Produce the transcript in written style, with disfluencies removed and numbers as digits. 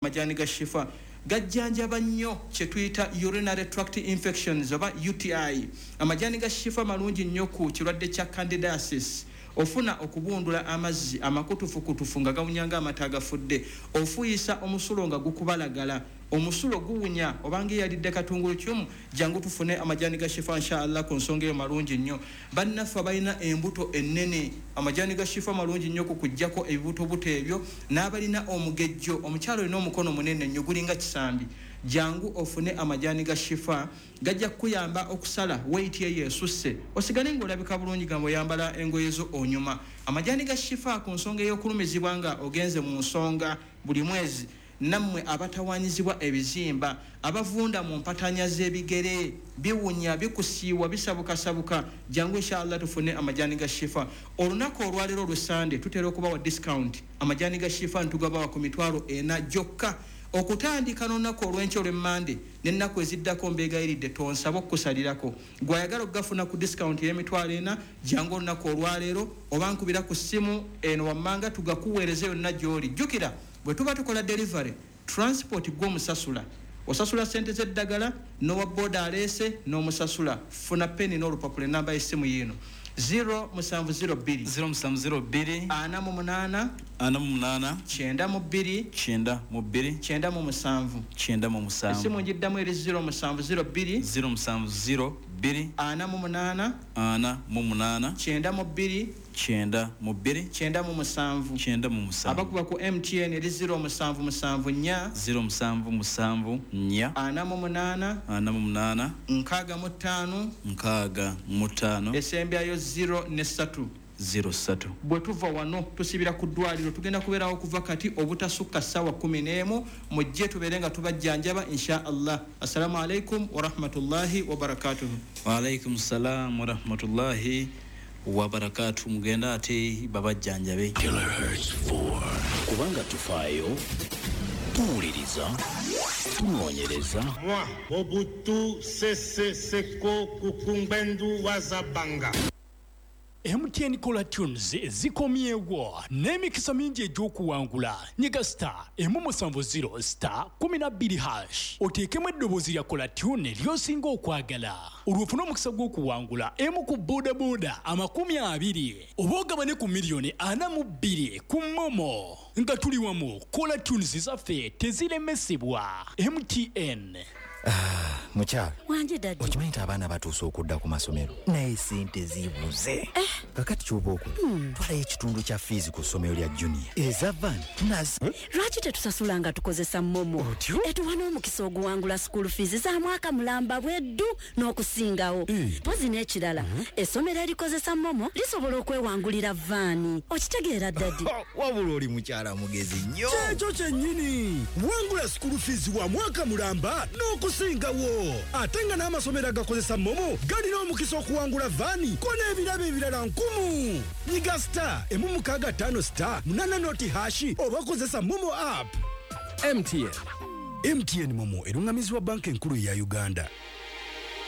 Amajaani ga Shifa gajjanjaba nnyo kye tuyita urinary tract infections oba UTI. Amajaani ga Shifa malungi nnyo ku kirwadde kya candidiasis. Ofuna okubundula amazzi amakutufukutufu nga gawunya ng'amata agafudde, ofuuyisa omusulo nga gukubalagala, omusulo guwunya obanga eyalidde katungulukyumu, jangu tufune amajaani ga Shifa inshallah ku nsonga eyo malungi nnyo. Bannaffe abalina embuto ennene, amajaani ga Shifa malungi nnyo ku kuggyako ebibutobuto ebyo, n'abalina omugejjo, omukyala olina omukono munene nnyo gulinga kisambi, jangu ofune amajaani ga Shifa, gajja kukuyamba okusala weight eyo esusse osigale ng'olabika bulungi, gamba oyambala engoye zo onyuma. Amajaani ga Shifa ku nsonga ey'okulumizibwa nga ogenze mu nsonga buli mwezi, nammwe abatawanyizibwa ebizimba, abavunda mu mpatanya z'ebigere, biwunya, bikusiiwa, bisabukasabuka, jangu inshallah tufune amajaani ga Shifa. Olunaku olwaleero olw'Essande tutera okubawa discount. Amajaani ga Shifa ntugabawa ku 40,000 gyokka okutandika n'olunaku olw'enkya olw'Emmande n'ennaku eziddako. Mbeegayiridde, tonsaba okukusalirako. Gw'ayagala okugafuna ku discount ey'emitwalo 40, jangu olunaku olwaleero oba nkubira ku ssimu eno wammanga tugakuweereze yonna gy'oli. Jjukira bwe tuba tukola delivery, transport gw'omusasula, osasula sente z'eddagala n'owa boda aleese n'omusasula. Funa peni n'olupapula. Enamba y'essimu yiino: 0702 0702 48 48 92 92 97. 97. Essimu ngiddamu eri 0702 0702 48 48 92 92 97. 97. Abakuba ku MTN eri 0774 0774 48 48 65 65 esembyayo 0 ne 3. 03. Bwe tuva wano tusibira ku ddwaliro, tugenda kubeerawo okuva kati obutasukka ssaawa 11. Mujje tubeere nga tubajjanjaba insha Allah. Assalamu alaikum warahmatullahi wabarakatuhu. Waalaikum salam warahmatullahi wabarakatu. Mugenda ate babajjanjabe. Kilohertz 4. Kubanga tufaayo, tuwuliriza, tunoonyereza. Moi, Mobutu Sese Seko Kuku Ngbendu wa Za Banga. MTN Caller Tunes zikomyewo n'emikisa mingi egy'okuwangula. Nyiga *170*12# oteekemu eddoboozi lya caller tune ly'osinga okwagala, olwo ofune omukisa gw'okuwangula emu ku bodaboda 20 oba ogabane ku miliyoni 42 ku MoMo. Nga tuli wamu, caller tunes zaffe teziremesebwa. MTN. Mukyala. Wanje, daddy. Okimanyi nti abaana batuuse okudda ku masomero, naye sente zibuze. Kakati kyoba okola, twalayo ekitundu kya fiizi ku ssomero lya junior, eza van nazi. Lwaki tetusasula nga tukozesa MoMo? Otyo? Etuwa n'omukisa oguwangula school fees za mwaka mulamba bweddu n'okusingawo. Mpozi n'ekirala, essomero erikozesa MoMo lisobola okwewangulira van. Okitegeera, daddy? Wabula oli mukyala mugezi nnyo. Kyekyo kyennyini. Wangula school fees wa mwaka mulamba n'okusingawo, ate nga n'amasomero agakozesa MoMo galina omukisa okuwangula van ko n'ebirabo ebirala nkumu. Nyiga *165*8 noti hash oba kozesa MoMo app. MTN. MTN MoMo eruŋŋamizibwa Banka Enkulu eya Uganda.